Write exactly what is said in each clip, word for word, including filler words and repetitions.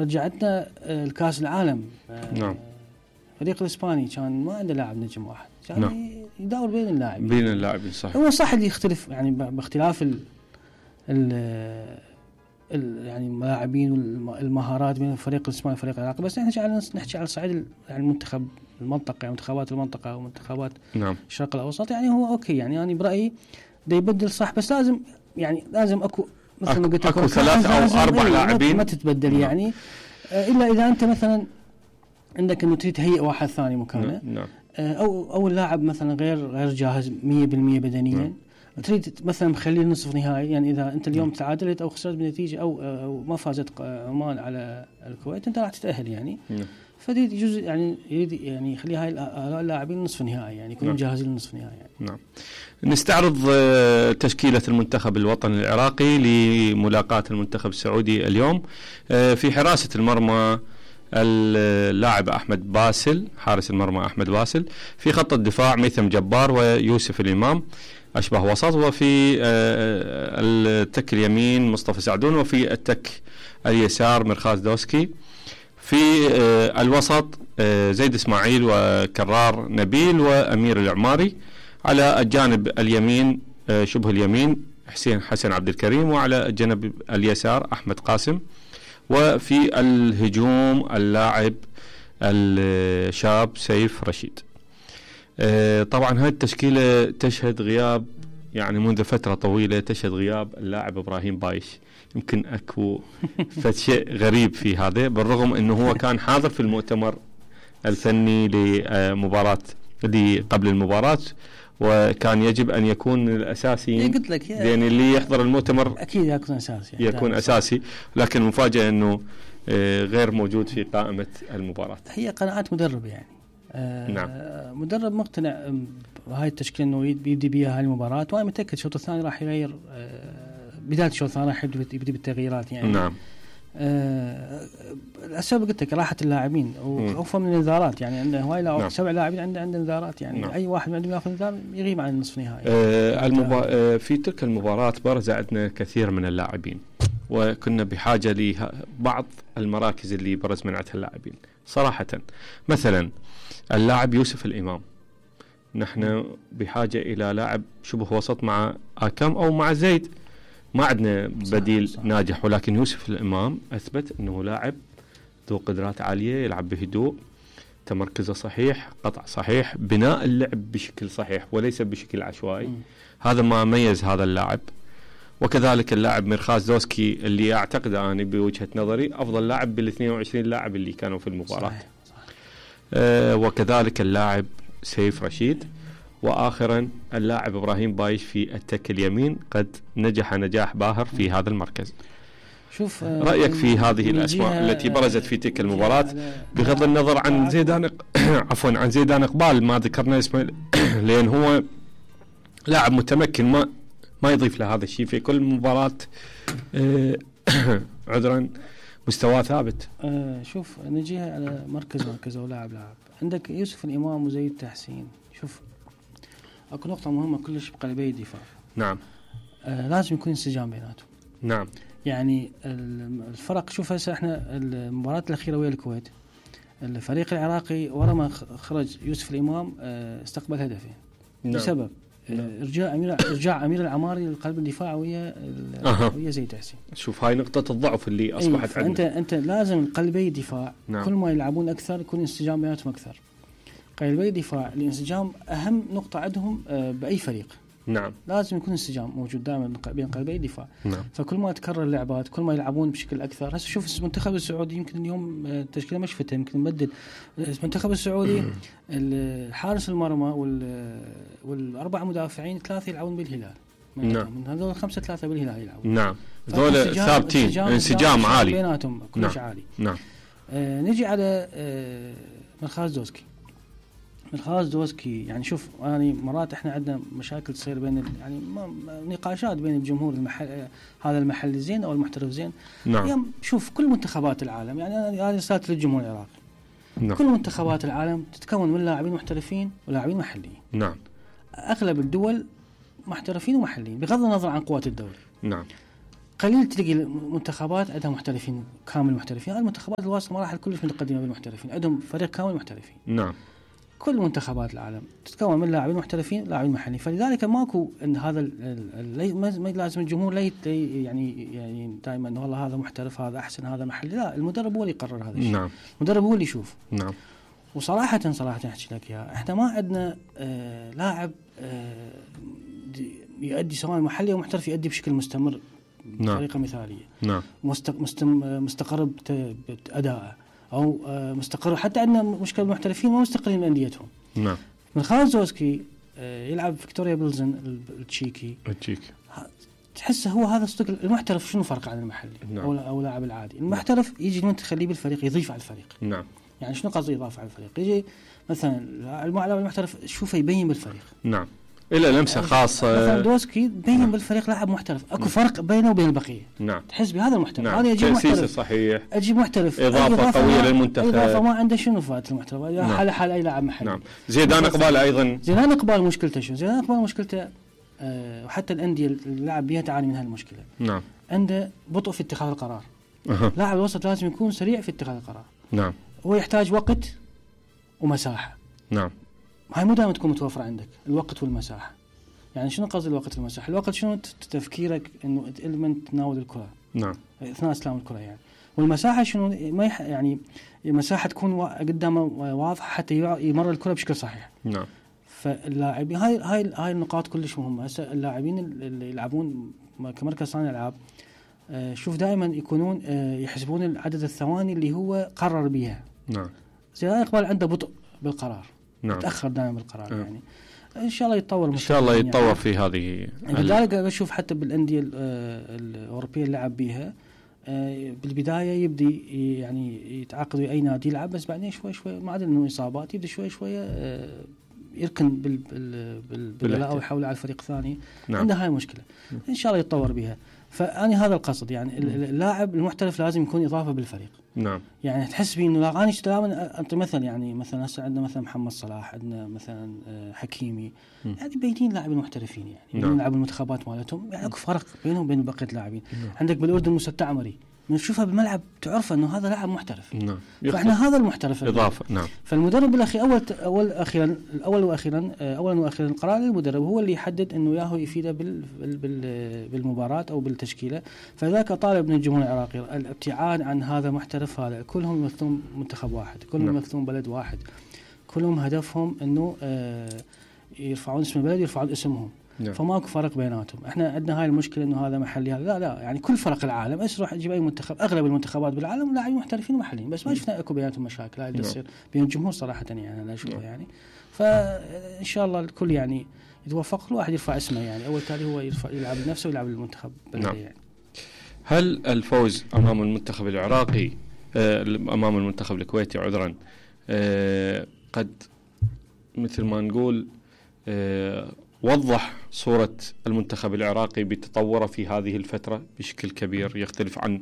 رجعتنا الكاس العالم. نعم. الفريق الاسباني كان ما عنده لاعب نجم واحد، كان نعم. يدور بين اللاعبين بين اللاعبين صح. هو صح اللي يختلف يعني باختلاف ال ال يعني اللاعبين والمهارات بين الفريق الاسباني والفريق العراقي، بس احنا على نحكي على صعيد يعني المنتخب المنطقه، يعني منتخبات المنطقه ومنتخبات نعم. الشرق الاوسط، يعني هو اوكي يعني انا برايي ده يبدل صح، بس لازم يعني لازم اكو مثل ما قلت اكو ثلاثة او اربع لاعبين ما تتبدل نعم. يعني الا اذا انت مثلا عندك انه تريد تهيئ واحد ثاني مكانه نعم. او او اللاعب مثلا غير غير جاهز مية بالمية بدنيا نعم. تريد مثلا مخليه نصف نهائي، يعني اذا انت اليوم تعادلت او خسرت بنتيجه او او ما فازت عمان على الكويت انت راح تتاهل يعني نعم. فدي جزء يعني يريد يعني يخلي هاي اللاعبين نصف نهائي يعني يكونوا نعم. جاهزين للنصف نهائي يعني. نعم. نستعرض تشكيلة المنتخب الوطني العراقي لملاقاة المنتخب السعودي اليوم. في حراسة المرمى اللاعب أحمد باسل، حارس المرمى أحمد باسل. في خط الدفاع ميثم جبار ويوسف الإمام أشبه وسط، وفي التك اليمين مصطفى سعدون، وفي التك اليسار مرخاز دوسكي. في الوسط زيد إسماعيل وكرار نبيل وأمير العماري. على الجانب اليمين شبه اليمين حسين حسن عبد الكريم، وعلى الجانب اليسار أحمد قاسم. وفي الهجوم اللاعب الشاب سيف رشيد. طبعا هذه التشكيلة تشهد غياب يعني منذ فترة طويلة، تشهد غياب اللاعب إبراهيم بايش. يمكن أكو فشيء غريب في هذا، بالرغم أنه هو كان حاضر في المؤتمر الفني لمباراة دي قبل المباراة، وكان يجب أن يكون الأساسي، قلت لك يعني اللي يحضر المؤتمر أكيد يكون أساسي يكون أساسي، لكن المفاجأة أنه غير موجود في قائمة المباراة. هي قناعات مدرب يعني آه نعم. مدرب مقتنع بهاي التشكيلة أنه يبدي بيها هاي المباراة، وأنا متأكد الشوط الثاني راح يغير آه بداية الشوط الثاني راح يبدي بالتغييرات يعني. نعم. آه السبب قلت لك راحة اللاعبين وخوفا من الانذارات، يعني عنده هواي نعم. سبع لاعبين عنده عنده انذارات يعني نعم. أي واحد عندهم يأخذ انذار يغيب عن النصف النهائي. آه المبا... آه في تلك المباراة برز عندنا كثير من اللاعبين، وكنا بحاجة لبعض المراكز اللي برز من عندها اللاعبين صراحة. مثلا اللاعب يوسف الإمام، نحن بحاجة إلى لاعب شبه وسط مع آكام أو مع زيد، ما عندنا بديل صح صح. ناجح، ولكن يوسف الإمام أثبت أنه لاعب ذو قدرات عالية، يلعب بهدوء، تمركزه صحيح، قطع صحيح، بناء اللعب بشكل صحيح وليس بشكل عشوائي. م. هذا ما ميز هذا اللاعب. وكذلك اللاعب مرخاز دوسكي اللي أعتقد أنا بوجهة نظري أفضل لاعب بالاثنين وعشرين لاعب اللي كانوا في المباراة. صحيح. صحيح. آه وكذلك اللاعب سيف رشيد. وآخرا اللاعب إبراهيم بايش في التك اليمين قد نجح نجاح باهر في هذا المركز. شوف رأيك في هذه الأسماء التي برزت في تلك المباراة، بغض النظر عن زيدان عفوا عن زيدان إقبال ما ذكرنا اسمه لأن هو لاعب متمكن ما ما يضيف له هذا الشيء في كل مباراة عذرا مستوى ثابت. أه شوف نجيها على مركز مركز أو لاعب لاعب. عندك يوسف الإمام وزيد تحسين. شوف اكو نقطة مهمة كلش بقلبي الدفاع. نعم. أه لازم يكون انسجام بيناتهم. نعم. يعني الفرق شوف هسه احنا المباراة الأخيرة ويا الكويت الفريق العراقي ورا ما خرج يوسف الإمام اه استقبل هدفين. نعم. بسبب ارجاع امير ارجاع امير العماري للقلب الدفاع ويا أه. ويا زيد حسين. شوف هاي نقطة الضعف اللي اصبحت عندنا. انت انت لازم قلبي دفاع. نعم. كل ما يلعبون اكثر يكون انسجام بيناتهم اكثر. قلبي دفاع الانسجام اهم نقطة عندهم باي فريق. نعم. لازم يكون انسجام موجود دائما بين قلبي الدفاع. نعم. فكل ما تكرر اللعبات كل ما يلعبون بشكل اكثر. هسه شوف المنتخب السعودي يمكن اليوم التشكيله مش فتها يمكن نبدل. المنتخب السعودي الحارس المرمى وال والاربع مدافعين ثلاثه يلعبون بالهلال. نعم. من هذول خمسه ثلاثه بالهلال يلعبون. نعم. هذول ثابتين انسجام عالي بيناتهم كلش عالي. نعم. آه نجي على آه مرخاز دوسكي. مرخاز دوسكي يعني شوف يعني مرات احنا عندنا مشاكل تصير بين يعني نقاشات بين الجمهور المحل هذا المحل زين او المحترف زين. نعم. يعني شوف كل منتخبات العالم يعني هذه رسالة للجمهور العراقي. نعم. كل منتخبات العالم تتكون من لاعبين محترفين ولاعبين محليين. نعم. اغلب الدول محترفين ومحليين بغض النظر عن قوة الدوري. نعم. قليل تلقي المنتخبات عندها محترفين كامل محترفين. هذه المنتخبات الواصله مراحل كلش متقدمه بالمحترفين، عندهم فريق كامل محترفين. نعم. كل منتخبات العالم تتكون من لاعبين محترفين لاعبين محليين، فلذلك ماكو ان هذا ما لازم الجمهور لا يعني يعني دائما انه والله هذا محترف هذا احسن هذا محلي، لا، المدرب هو اللي يقرر هذا الشيء. نعم. المدرب هو اللي يشوف. نعم. وصراحه صراحه احكي لك يا احنا ما عندنا آه لاعب آه يؤدي سواء محلي او محترف يؤدي بشكل مستمر بطريقه مثاليه. نعم. مستقر بادائه او مستقر. حتى عندنا مشكله المحترفين ما مستقرين من انديتهم. نعم. من خالد زوسكي يلعب فيكتوريا بيلزن التشيكي التشيكي تحس هو هذا الصدق. المحترف شنو فرق عن المحلي؟ نعم. او او لاعب العادي. المحترف يجي المنتخب يخليه بالفريق يضيف على الفريق. نعم. يعني شنو قصدي اضافه على الفريق؟ يجي مثلا اللاعب المحترف شوفه يبين بالفريق. نعم. إلى لمسة خاصة. مثلا دوسكي بين نعم. بالفريق لاعب محترف، اكو نعم. فرق بينه وبين البقيه. نعم. تحس بهذا المحترف. نعم. هذا يجي محترف صحيح. اجيب محترف اضافه, إضافة قويه للمنتخب. اضافه ما عنده شنو فات المحترف. نعم. حال حال اي لاعب محلي. نعم. زيدان اقبال ايضا. زيدان اقبال مشكلته شو؟ زيدان اقبال مشكلته أه وحتى الانديه اللاعب بيها تعاني من هالمشكله. نعم. عنده بطء في اتخاذ القرار. أه. لاعب الوسط لازم يكون سريع في اتخاذ القرار. نعم. هو يحتاج وقت ومساحه. نعم. هاي مو دائما تكون متوفره عندك الوقت والمساحه. يعني شنو قصدي الوقت والمساحه؟ الوقت شنو تفكيرك انه من تناول الكره. نعم. اثناء استلام الكره يعني. والمساحه شنو ما يح يعني مساحه تكون قدامه واضحه حتى يمر الكره بشكل صحيح. نعم. فاللاعبين هاي هاي هاي النقاط كلش مهمه. هسه اللاعبين اللي يلعبون كمركز صانع العاب آه شوف دائما يكونون آه يحسبون عدد الثواني اللي هو قرر بها. نعم. زيدان اقبال عنده بطء بالقرار. نعم. تاخر دائما بالقرار نعم. يعني ان شاء الله يتطور ان شاء الله يتطور يعني. في هذه لذلك اشوف حتى بالانديه الاوروبيه اللي لعب بيها بالبدايه يبدي يعني يتعاقد ويا اي نادي يلعب، بس بعدين شوي شوي ما عاد انه اصابات يبدا شوي شوي يركن بالبلاء او يحول على الفريق الثاني. نعم. عنده هاي المشكله ان شاء الله يتطور بها. فاني هذا القصد يعني اللاعب المحترف لازم يكون اضافه بالفريق. نعم. يعني تحس بي انه لاغاني تماما. انت مثلا يعني مثلا هسه عندنا مثلا محمد صلاح، عندنا مثلا حكيمي، م. يعني بينين لاعبين محترفين يعني نعم. يلعبوا المنتخبات مالتهم يعني اكو فرق بينهم وبين بقيه اللاعبين. نعم. عندك بالاردن موسى التعمري من تشوفها بالملعب تعرف انه هذا لاعب محترف. نعم. فاحنا هذا المحترف اضافه. نعم. فالمدرب بالاخير اول اول اخيرا الاول واخيرا اولا واخيرا القرار للمدرب هو اللي يحدد انه ياهو يفيده بال بال بالمباراه او بالتشكيله. فذاك طالب من الجمهور العراقي الابتعاد عن هذا المحترف. هذا كلهم يمثلون منتخب واحد، كلهم نعم. يمثلون بلد واحد، كلهم هدفهم انه آه يرفعون اسم البلد يرفعون اسمهم. نعم. فماكو فرق بيناتهم. احنا عندنا هاي المشكله انه هذا محلي هذا لا لا يعني كل فرق العالم اسرح تجيب اي منتخب، اغلب المنتخبات بالعالم لاعبين محترفين ومحليين، بس ما شفنا اكو بيناتهم مشاكل. هاي اللي تصير بين الجمهور صراحه يعني انا اشوفها. يعني فان شاء الله الكل يعني يتوفق، الواحد يرفع اسمه يعني اول تالي هو يرفع يلعب لنفسه ويلعب للمنتخب بلده. نعم. يعني هل الفوز امام المنتخب العراقي آه امام المنتخب الكويتي عذرا آه قد مثل ما نقول آه وضح صورة المنتخب العراقي بتطوره في هذه الفترة بشكل كبير يختلف عن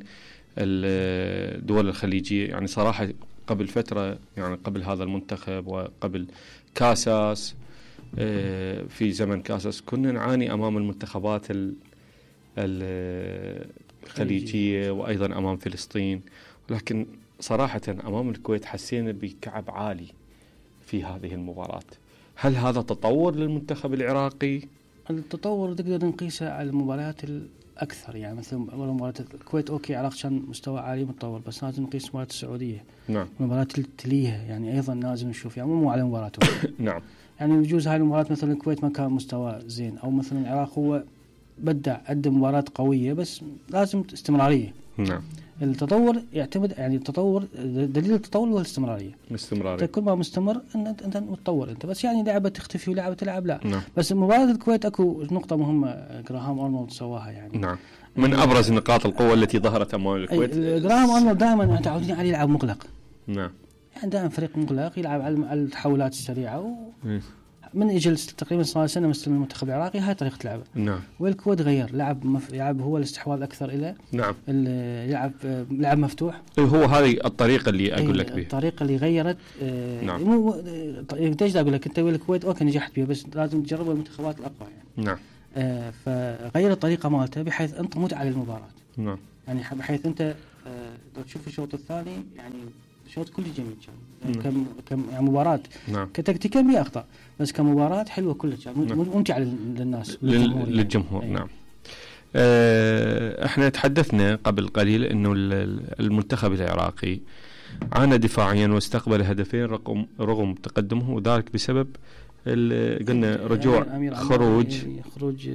الدول الخليجية؟ يعني صراحة قبل فترة يعني قبل هذا المنتخب وقبل كاساس في زمن كاساس كنا نعاني أمام المنتخبات الخليجية وأيضا أمام فلسطين، ولكن صراحة أمام الكويت حسينا بكعب عالي في هذه المباراة. هل هذا تطور للمنتخب العراقي؟ التطور تقدر نقيسه على المباريات الأكثر، يعني مثل مباراة الكويت أوكي العراق كان مستوى عالي متطور، بس لازم نقيس مباراة السعودية. نعم. المباراة اللي تليها يعني أيضا لازم نشوف يعني مو على مباراته. نعم. يعني يجوز هاي المباراة مثلا الكويت ما كان مستوى زين، أو مثلا العراق هو بدع قدم مباراة قوية بس لازم استمرارية. نعم. التطور يعتمد يعني التطور دليل التطور هو الاستمراريه. الاستمراريه كل ما مستمر انت انت متطور انت، بس يعني لعبه تختفي ولعبه تلعب لا. نعم. بس مباراه الكويت اكو نقطه مهمه جراهام أرنولد سواها يعني. نعم. من ابرز نقاط القوه التي ظهرت امام الكويت. جراهام أرنولد دائما متعودين عليه يلعب مغلق. نعم. يعني دائما فريق مغلق يلعب على التحولات السريعه و... من اجل تقريبا صار سنه مستلم المنتخب العراقي هاي طريقه لعبه. نعم. والكويت غير لعب مف... يلعب هو الاستحواذ اكثر الى. نعم. يلعب لعب مفتوح. هو هذه الطريقه اللي اقول لك بها. الطريقه اللي غيرت آه نعم. مو ايش اقول لك انت والكويت اوكي نجحت بها، بس لازم تجربها المنتخبات الاقوى يعني. نعم. آه فغير الطريقه مالته بحيث انت متعه للمباراه. نعم. يعني بحيث انت لو تشوف الشوط الثاني يعني الشوط كله جميل كان يعني كم كم يعني مباراة نعم. كتكتيكيا بها اخطاء بس كمباراة حلوة كلها نعم. ممتعة للناس للجمهور, للجمهور. يعني. نعم. اه احنا تحدثنا قبل قليل انه المنتخب العراقي عانى دفاعيا واستقبل هدفين رغم رغم تقدمه وذلك بسبب قلنا رجوع خروج خروج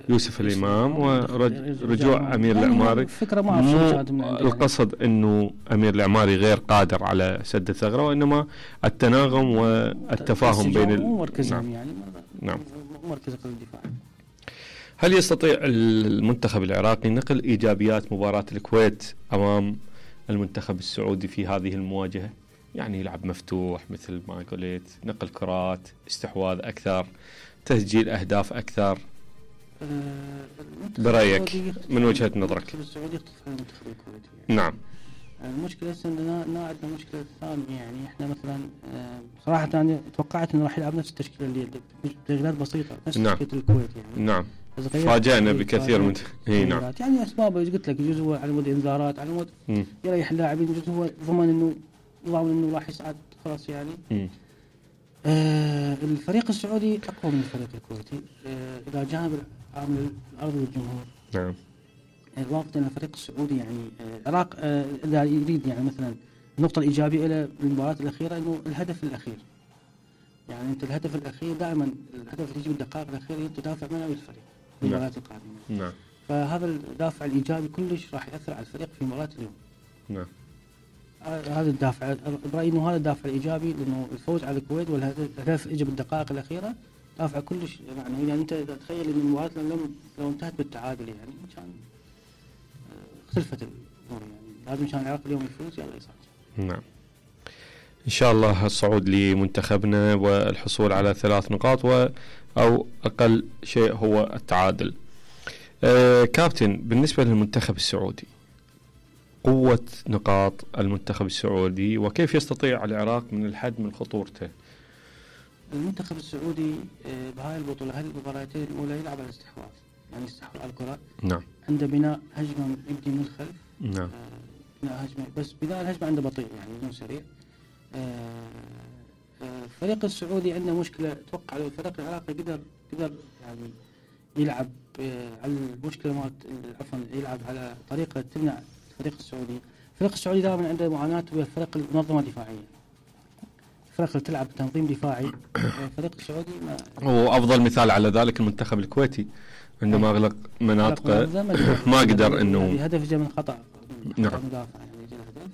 يوسف الإمام ورجوع أمير العماري. فكرة ما مو القصد أنه أمير العماري غير قادر على سد الثغرة وإنما التناغم والتفاهم بين ال... نعم. يعني نعم. مركز الدفاع. هل يستطيع المنتخب العراقي نقل إيجابيات مباراة الكويت أمام المنتخب السعودي في هذه المواجهة؟ يعني يلعب مفتوح مثل ما قلت، نقل كرات، استحواذ أكثر، تسجيل أهداف أكثر. أه برأيك من وجهة نظرك؟ المنتخب السعودي يختلف عن المنتخب الكويتي. يعني. نعم. المشكلة أننا عندنا مشكلة ثانية يعني إحنا مثلا صراحة أنا توقعت إنه راح يلعب نفس التشكيلة اللي تغييرات بسيطة نفس نعم. تشكيلة الكويت يعني. نعم. فاجأنا بكثير من هي نعم. يعني أسباب قلت لك جزء هو على مود إنذارات على مود يريح اللاعبين، جزء هو ضمن إنه ضامن إنه راح يصعد خلاص يعني. آه الفريق السعودي أقوى من الفريق الكويتي آه إلى جانب عامل الأرض والجمهور. نعم. الواقع أن الفريق السعودي يعني العراق آه إذا يريد يعني مثلا النقطة الإيجابية إلى المباراة الأخيرة إنه الهدف الأخير. يعني أنت الهدف الأخير دائما الهدف اللي يجي بالدقائق الأخيرة أنت دافع منه الفريق في المباراة القادمة. نعم. فهذا الدافع الإيجابي كلش راح يأثر على الفريق في مباراة اليوم. نعم. هذا الدافع برأيي إنه هذا الدافع الإيجابي لأنه الفوز على الكويت والهدف إجى بالدقائق الأخيرة دافع كلش يعني يعني أنت تخيل إن المباراة لو لو انتهت بالتعادل يعني كان اختلفت الأمور يعني لازم كان العراق اليوم يفوز يلا يصعد. نعم. إن شاء الله الصعود لمنتخبنا والحصول على ثلاث نقاط و أو أقل شيء هو التعادل. آه كابتن بالنسبة للمنتخب السعودي قوة نقاط المنتخب السعودي وكيف يستطيع العراق من الحد من خطورته؟ المنتخب السعودي بهاي البطولة هذه المباراتين الأولى يلعب على الاستحواذ يعني يستحوذ على الكرة. نعم. عنده بناء هجمة يبدي من الخلف. نعم. آه بناء هجمة بس بناء الهجمة عنده بطيء يعني مو سريع. الفريق آه السعودي عنده مشكلة أتوقع لو الفريق العراقي قدر قدر يعني يلعب آه على المشكلة مالت عفوا يلعب على طريقة تمنع الفريق السعودي. الفريق السعودي دائما عنده معاناة ويا الفريق المنظمة دفاعية. الفريق اللي تلعب بتنظيم دفاعي الفريق السعودي ما هو أفضل مثال على ذلك المنتخب الكويتي عندما أغلق مناطقه ما قدر إنه هدف جاء من خطأ. نعم. مدافع يعني جاء هدف.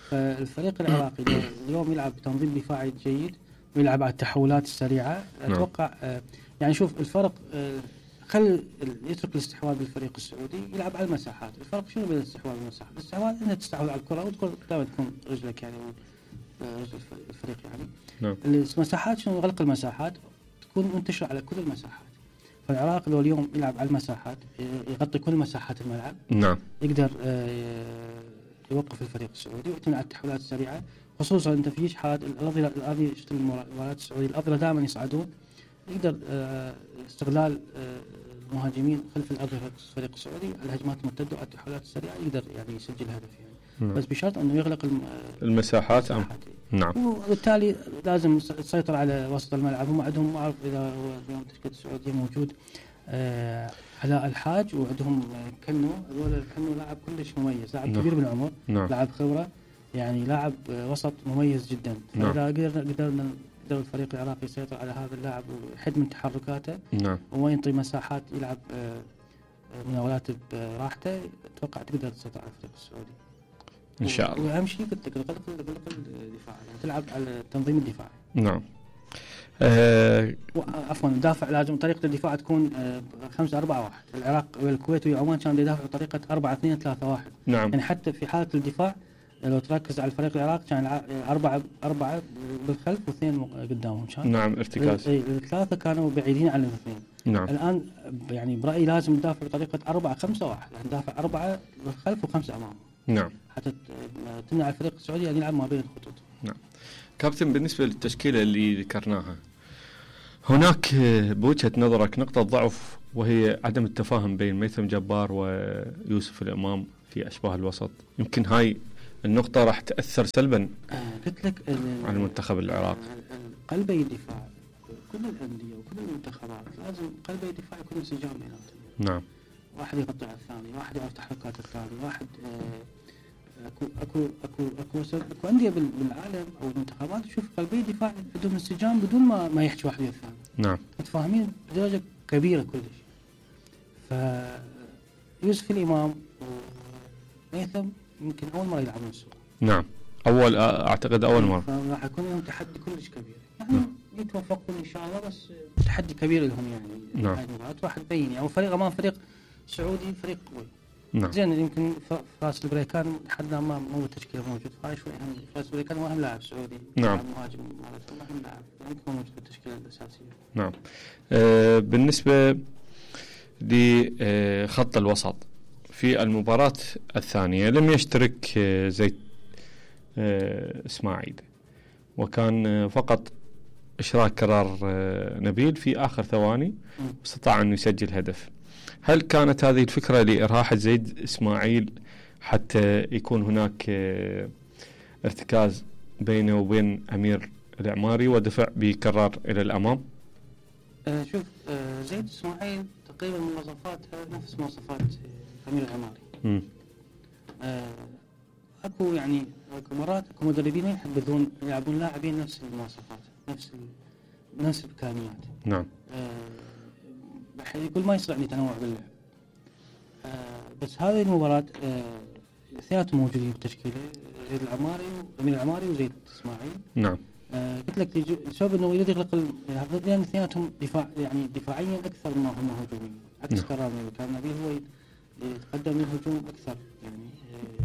فالفريق العراقي اليوم يلعب بتنظيم دفاعي جيد ويلعب على التحولات السريعة. أتوقع آه يعني شوف الفرق آه خل يترك الاستحواذ بالفريق السعودي يلعب على المساحات. الفرق شنو بين الاستحواذ والمساحات؟ الاستحواذ انها تستحوذ على الكرة وتكون دائما تكون رجلك يعني رجل الفريق يعني. نعم. المساحات شنو غلق المساحات تكون منتشرة على كل المساحات. فالعراق لو اليوم يلعب على المساحات يغطي كل مساحات الملعب. نعم. يقدر يوقف الفريق السعودي ويعتمد على التحولات السريعة خصوصا انت في حالات الأرضية الأرضية شفت المباريات السعودية الأرضية دائما يصعدون يقدر استغلال المهاجمين خلف الأرض الفريق السعودي على الهجمات المرتدة وعلى التحولات السريعة يقدر يعني يسجل هدف يعني. نعم. بس بشرط أنه يغلق المساحات. أم. نعم. وبالتالي لازم تسيطر على وسط الملعب. هم عندهم ما أعرف إذا هو اليوم تشكيلة السعودية موجود آه علاء الحاج وعندهم كنو هذول كنو لاعب كلش مميز لاعب. نعم. كبير بالعمر. نعم. لاعب خبرة يعني لاعب وسط مميز جدا. نعم. فإذا قدرنا قدرنا قدر الفريق العراقي يسيطر على هذا اللاعب ويحد من تحركاته. نعم. وما ينطي مساحات يلعب مناولات براحته أتوقع تقدر تسيطر على الفريق السعودي إن شاء الله. وأهم شيء قلت لك غلق الدفاع يعني تلعب على التنظيم الدفاعي. نعم. أه عفوا دافع لازم طريقة الدفاع تكون خمسة أربعة واحد. العراق والكويت وعمان كانوا يدافعوا بطريقة أربعة اثنين ثلاثة واحد. نعم. يعني حتى في حالة الدفاع لو تركز على الفريق العراقي كان أربعة أربعة بالخلف واثنين قدامهم كان. نعم ارتكاز. الثلاثة كانوا بعيدين عن الاثنين. نعم. الآن يعني برأيي لازم ندافع بطريقة أربعة خمسة واحد يعني ندافع أربعة بالخلف وخمسة أمام. نعم. حتى تمنع الفريق السعودي أن يلعب ما بين الخطوط. نعم. كابتن بالنسبة للتشكيلة اللي ذكرناها هناك بوجهة نظرك نقطة ضعف وهي عدم التفاهم بين ميثم جبار ويوسف الإمام في أشباه الوسط. يمكن هاي النقطة راح تأثر سلبا آه قلت لك على المنتخب العراقي. قلبي الدفاع كل الأندية وكل المنتخبات لازم قلبي الدفاع يكون انسجام بيناتهم. نعم. واحد يقطع الثاني، واحد يعرف تحركات الثاني، واحد آه اكو اكو اكو اكو اكو أندية بالعالم او المنتخبات تشوف قلبي دفاع عندهم انسجام بدون ما ما يحكي واحد ويا الثاني. نعم. متفاهمين بدرجة كبيرة كلش. فيوسف الإمام وميثم يمكن أول مرة يلعبون سوا. نعم. أول أعتقد أول مرة. فراح يكون لهم تحدي كلش كبير. يعني يتوفقون إن شاء الله بس تحدي كبير لهم يعني. نعم. هاي المباراة راح تبين يعني فريق أمام فريق سعودي فريق قوي. نعم. زين يمكن فاس البريكان لحد ما مو بالتشكيلة موجود. فاي شوي أهم. فاس البريكان هو أهم لاعب سعودي. نعم. مهاجم مالتهم أهم لاعب. يمكن يعني موجود بالتشكيلة الأساسية. نعم. آه بالنسبة لخط الوسط في المباراة الثانية لم يشترك آه زيد آه إسماعيل، وكان فقط إشراك كرار نبيل في آخر ثواني واستطاع أن يسجل هدف. هل كانت هذه الفكرة لإراحة زيد إسماعيل حتى يكون هناك ارتكاز بينه وبين أمير العماري ودفع بكرار إلى الأمام؟ أه شوف أه زيد إسماعيل تقريبا مواصفاتها نفس مواصفات أمير العماري. أه اكو يعني اكو مرات اكو مدربين يحبذون يلعبون لاعبين نفس المواصفات نفس نفس الامكانيات. نعم. آه بحيث يقول ما يصير عندي تنوع باللعب. آه بس هذه المباراة آه اثنيناتهم موجودين بالتشكيلة، زيد العماري وامير العماري وزيد اسماعيل. نعم. آه قلت لك بسبب انه يريد يغلق لان اثنيناتهم دفاع يعني دفاعيا اكثر ما هم هجوميين. عكس كرامي كان نبيل هو يتقدم للهجوم اكثر يعني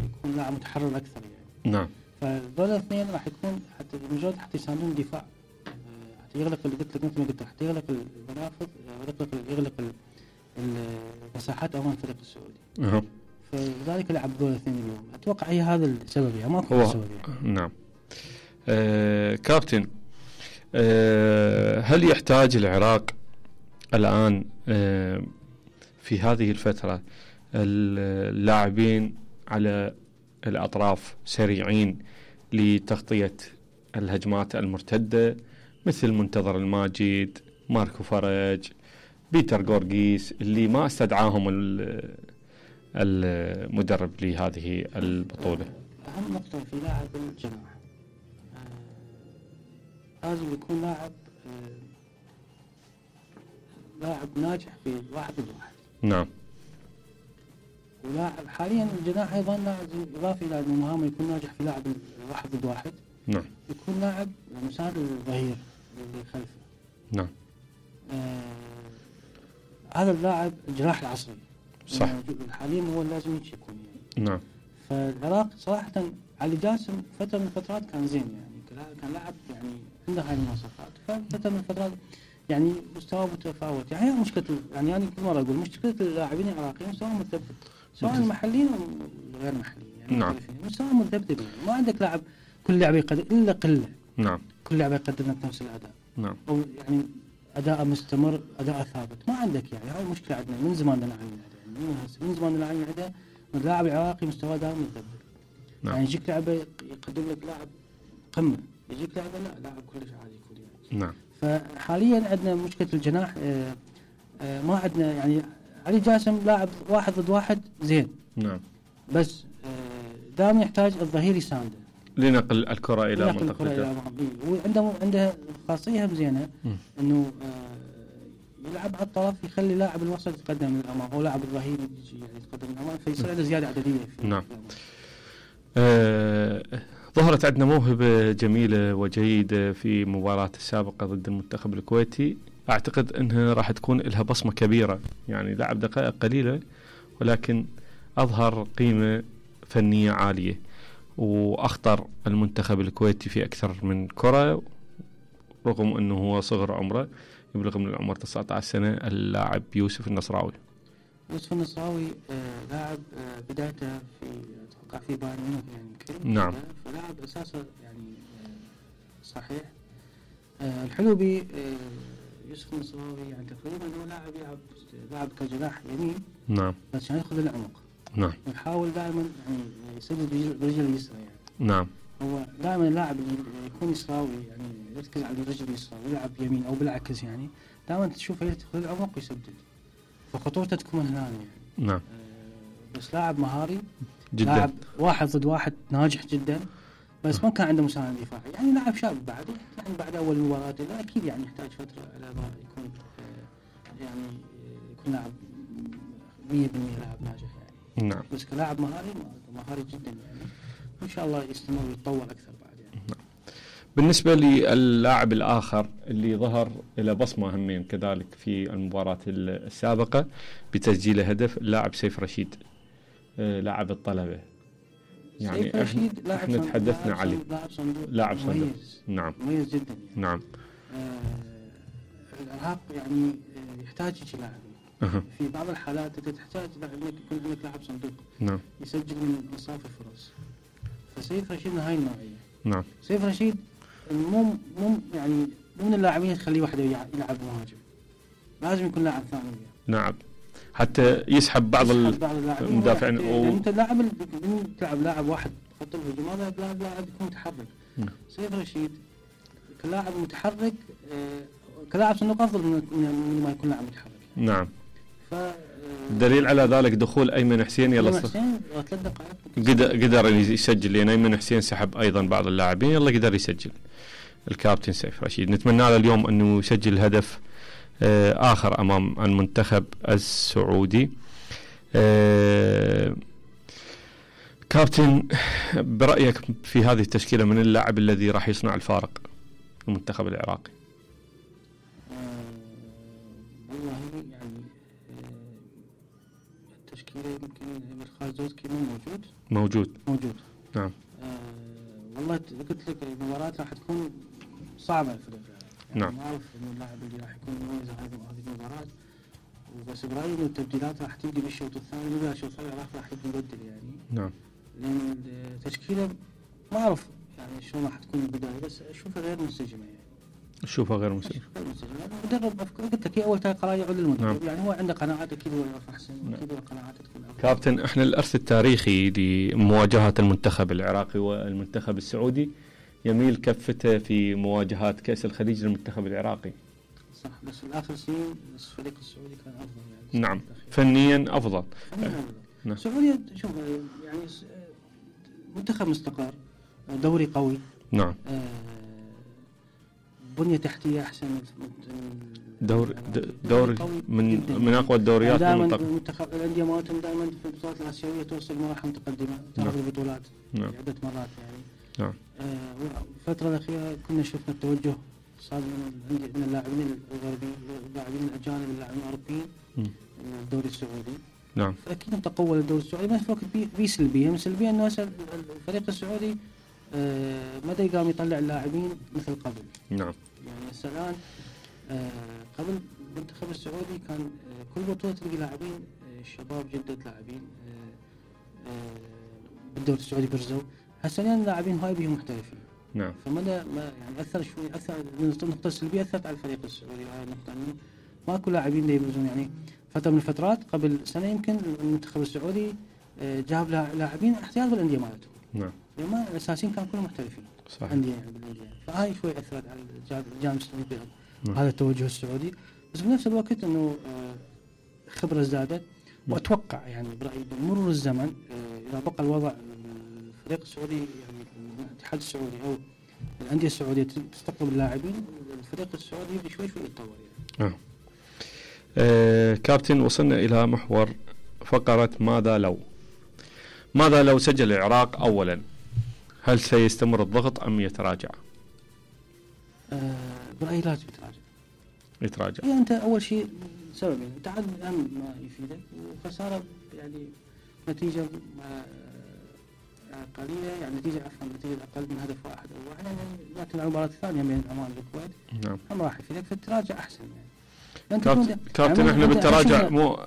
يكون لاعب متحرر اكثر يعني. نعم. فدول الاثنين راح يكون حتى مجرد حتى يساندون الدفاع حتى يغلق اللي قلت لك مثل ما قلت حتى يغلق المنافذ يغلق يغلق المساحات امام الفريق السعودي. أه. فلذلك لعب دول الاثنين اليوم اتوقع هي هذا السبب يعني ماكو سبب يعني. نعم. آه كابتن آه هل يحتاج العراق الآن آه في هذه الفترة اللاعبين على الأطراف سريعين لتغطية الهجمات المرتدة مثل منتظر الماجد، ماركو فرج، بيتر غورغيس اللي ما استدعاهم المدرب لهذه البطولة؟ أهم نقطة في لاعب الجناح لازم يكون لاعب لاعب ناجح في واحد ضد واحد. نعم. ولاعب حاليا الجناح ايضا لاعب اضافي الى المهام يكون ناجح في لاعب واحد ضد واحد. نعم. يكون لاعب مساعد للظهير اللي خلفه. نعم. آه هذا اللاعب الجناح العصري. صح. حاليا هو لازم يكون يعني. نعم. فالعراق صراحة علي جاسم فترة من الفترات كان زين يعني كان لاعب يعني عنده هاي المواصفات ففترة من الفترات يعني مستوى متفاوت يعني مشكلة يعني أنا كل مرة أقول مشكلة اللاعبين العراقيين مستوى متذبذب سواء محليين أو غير محليين يعني. نعم. مستوى متذبذب يعني ما عندك لاعب كل لاعب يقدم إلا قلة. نعم. كل لاعب يقدم لك نفس الأداء. نعم. أو يعني أداء مستمر أداء ثابت ما عندك يعني هاي المشكلة عندنا من زمان نعاني يعني من زمان نعاني عندها اللاعب العراقي مستوى دائما متذبذب. نعم. يعني يجيك لاعب يقدم لك لاعب قمة يجيك لاعب لا لاعب كلش عادي يكون يعني. نعم. فحاليا عندنا مشكلة الجناح آآ آآ ما عندنا يعني علي جاسم لاعب واحد ضد واحد زين. نعم. بس دائما يحتاج الظهير يسانده لنقل الكرة إلى منطقته. وعنده عنده خاصية زينة إنه يلعب على الطرف يخلي لاعب الوسط يتقدم للأمام أو لاعب الظهير يجي يعني يتقدم للأمام فيصير عنده زيادة عددية. نعم. آه ظهرت عندنا موهبة جميلة وجيدة في مباراة السابقة ضد المنتخب الكويتي، أعتقد أنها راح تكون لها بصمة كبيرة، يعني لعب دقائق قليلة ولكن أظهر قيمة فنية عالية وأخطر المنتخب الكويتي في أكثر من كرة رغم أنه هو صغر عمره يبلغ من العمر تسعة عشر سنة. اللاعب يوسف النصراوي. يوسف النصراوي آه لاعب آه بدايته في أتوقع في بايرن ميونخ يعني. نعم. فلاعب أساسه يعني آه صحيح. آه الحلو بي آه يوسف النصراوي يعني تقريبا هو لاعب يلعب لاعب كجناح يمين. نعم. بس يعني ياخذ العمق. نعم. يحاول دائما يعني يسدد برجل اليسرى يعني. نعم. هو دائما اللاعب اللي يكون يسراوي يعني يركز على الرجل اليسرى ويلعب يمين او بالعكس يعني دائما تشوفه ياخذ العمق ويسدد. فخطورته تكون هنا يعني. نعم. آه بس لاعب مهاري جدا. لاعب واحد ضد واحد ناجح جدا. بس ما كان عنده مساند دفاعي يعني لاعب شاب بعد يعني بعد اول مباراه لا اكيد يعني يحتاج فتره على ما يكون آه يعني يكون لاعب مية بالمية لاعب ناجح يعني. نعم. بس كلاعب مهاري مهاري جدا يعني وان شاء الله يستمر ويتطور اكثر بعد يعني. نعم. بالنسبه للاعب الاخر اللي ظهر له بصمه همين كذلك في المباراه السابقه بتسجيل هدف اللاعب سيف رشيد آه لاعب الطلبه يعني سيف رشيد احنا, احنا تحدثنا عليه لاعب صندوق لاعب صندوق مميز. نعم مميز جدا يعني. نعم. آه الارهاق يعني آه يحتاج شيء لاعب أه. في بعض الحالات انت تحتاج انك يكون عندك لاعب صندوق نعم يسجل من انصاف الفرص. فسيف رشيد من هاي النوعيه. نعم. سيف رشيد مو مو يعني مو من اللاعبين تخليه وحده يلعب مهاجم لازم يكون لاعب ثاني وياه. نعم حتى يسحب بعض المدافعين و... انت لاعب تلعب لاعب واحد خط الهجوم هذا لاعب لاعب يكون متحرك. نعم. سيف رشيد كلاعب متحرك آه كلاعب صندوق افضل من, من ما يكون لاعب متحرك. نعم. ف دليل على ذلك دخول ايمن حسين يلا قدر قدر يسجل لان ايمن حسين سحب ايضا بعض اللاعبين يلا قدر يسجل الكابتن سيف رشيد. نتمنى له اليوم انه يسجل هدف آه اخر امام المنتخب السعودي. آه كابتن برايك في هذه التشكيله من اللاعب الذي راح يصنع الفارق المنتخب العراقي؟ يمكن الخازوزكي مو موجود موجود موجود نعم. آه والله قلت لك المباراة راح تكون صعبة الفريق يعني. نعم. ما أعرف إنه اللاعب اللي راح يكون مميز هذه هذه المباراة وبس برأيي إنه التبديلات راح تبدي بالشوط الثاني ولا الشوط الثاني راح راح يبدل يعني. نعم. لأن التشكيلة ما أعرف يعني شلون راح تكون البداية بس أشوفها غير منسجمة يعني. أشوفها غير منسجمة. مدرب قلت لك هي أول قرار يعود للمدرب. نعم. يعني هو عنده قناعات أكيد هو يعرف أحسن. نعم. أكيد قناعاته تكون أفضل. كابتن إحنا الإرث التاريخي لمواجهة المنتخب العراقي والمنتخب السعودي يميل كفته في مواجهات كأس الخليج للمنتخب العراقي. صح بس الآخر سنين الفريق السعودي كان أفضل يعني. نعم فنيا أفضل. فنيا أفضل. نعم. السعودية شوف يعني منتخب مستقر دوري قوي. نعم. آه بنية تحتية أحسن. دور دوري من من أقوى الدوريات في المنطقة. المنتخب الأندية مالتهم دائما في البطولات الآسيوية توصل مراحل متقدمة تاخذ البطولات. نعم. عدة مرات يعني. نعم. آه الفترة الأخيرة كنا شفنا التوجه صار من اللاعبين الغربيين اللاعبين الأجانب اللاعبين الأوروبيين الدوري السعودي. نعم. فأكيد تقول الدوري السعودي بس وقت بي سلبية من سلبية إنه الفريق السعودي آه مدى قام يطلع اللاعبين مثل قبل. نعم. يعني هسه الآن آه قبل المنتخب السعودي كان آه كل بطولة تلقي لاعبين آه شباب جدد لاعبين آه آه بالدوري السعودي برزوا. هسه الآن اللاعبين هاي بيهم محترفين. نعم. فمدى ما يعني أثر شوي أثر من النقطة السلبية أثرت على الفريق السعودي هاي النقطة إنه ماكو لاعبين يبرزون يعني فترة من الفترات قبل سنة يمكن المنتخب السعودي آه جاب لاعبين احتياط بالأندية مالتهم. نعم. لما الأساسيين كانوا كلهم محترفين. صحيح. أندية يعني بالأندية فهاي شوي أثرت على الجانب السعودي هذا التوجه السعودي بس بنفس الوقت إنه آه خبرة زادت وأتوقع يعني برأيي بمرور الزمن آه إذا بقى الوضع الفريق السعودي يعني الاتحاد السعودي أو الأندية السعودية تستقطب اللاعبين الفريق السعودي يبدي شوي شوي يتطور يعني. آه. آه كابتن وصلنا إلى محور فقرة ماذا لو ماذا لو سجل العراق أولا هل سيستمر الضغط أم يتراجع؟ آه برأيي لازم يتراجع. يتراجع. يعني أنت أول شيء سبب يعني تعادل الآن ما يفيدك وخسارة يعني نتيجة قليلة يعني نتيجة عفوا نتيجة أقل من هدف واحد أو واحد يعني لكن المباراة الثانية بين عمان والكويت. نعم. هم راح يفيدك فتراجع أحسن يعني. كابتن, كابتن إحنا بالتراجع مو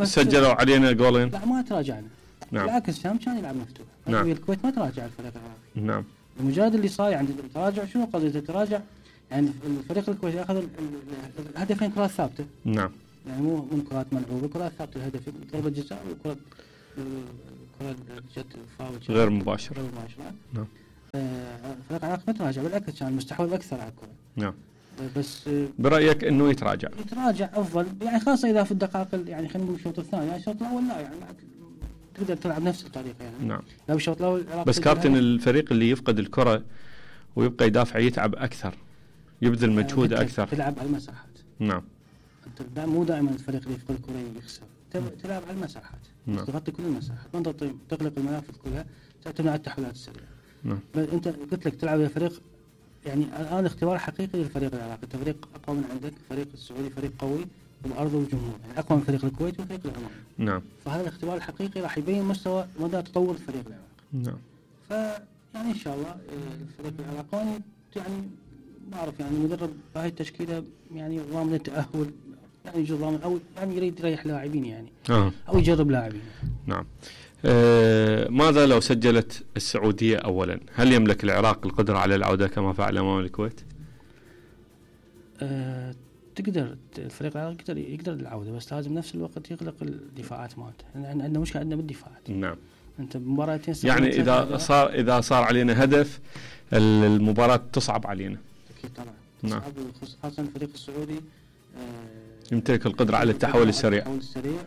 سجلوا علينا جولين. لا ما تراجعنا. نعم. بالعكس هم كان يلعب مفتوح. نعم. الكويت ما تراجع الفريق العراقي. نعم. المجرد اللي صار عند التراجع شنو قضية التراجع يعني الفريق الكويتي اخذ الهدفين كرات ثابته. نعم. يعني مو من كرات ملعوبه، كرات ثابته، الهدف ضربه جزاء وكره كره جت فاول غير مباشر. غير مباشره. نعم. الفريق العراقي ما تراجع، بالعكس كان مستحوذ اكثر على الكره. نعم. بس برايك انه يتراجع؟ يتراجع افضل، يعني خاصه اذا في الدقائق يعني خلينا نقول الشوط الثاني، يعني الشوط الاول لا يعني تقدر تلعب نفس الطريقه يعني. نعم. لو الشوط الاول بس كابتن الفريق اللي يفقد الكره ويبقى يدافع يتعب اكثر، يبذل مجهود اكثر. تلعب على المساحات. نعم. انت مو دائما الفريق اللي يفقد الكره يخسر، تلعب على المساحات. نعم. تغطي كل المساحات، ما تغلق المنافذ كلها، تعتمد على التحولات السريعه. نعم. انت قلت لك تلعب يا فريق، يعني الان اختبار حقيقي للفريق العراقي، انت فريق اقوى من عندك، فريق السعودي فريق قوي وبارضه وجمهور، يعني اقوى من فريق الكويت وفريق العمان. نعم. فهذا الاختبار الحقيقي راح يبين مستوى مدى تطور الفريق العراقي. نعم. فيعني ان شاء الله الفريق العراقي يعني ما اعرف يعني المدرب بهاي التشكيله يعني ضامن التاهل، يعني يجي ضامن او يعني يريد يريح لاعبين يعني آه. او يجرب لاعبين. نعم. آه ماذا لو سجلت السعوديه اولا؟ هل يملك العراق القدره على العوده كما فعل امام الكويت؟ آه تقدر الفريق العراقي يقدر يقدر العوده، بس لازم نفس الوقت يغلق الدفاعات مالته، لان عندنا مشكله عندنا بالدفاعات. نعم. انت بمباراتين يعني اذا صار اذا صار علينا هدف المباراه تصعب علينا. اكيد طبعا. نعم. خاصه الفريق السعودي آه يمتلك القدره على التحول السريع. التحول السريع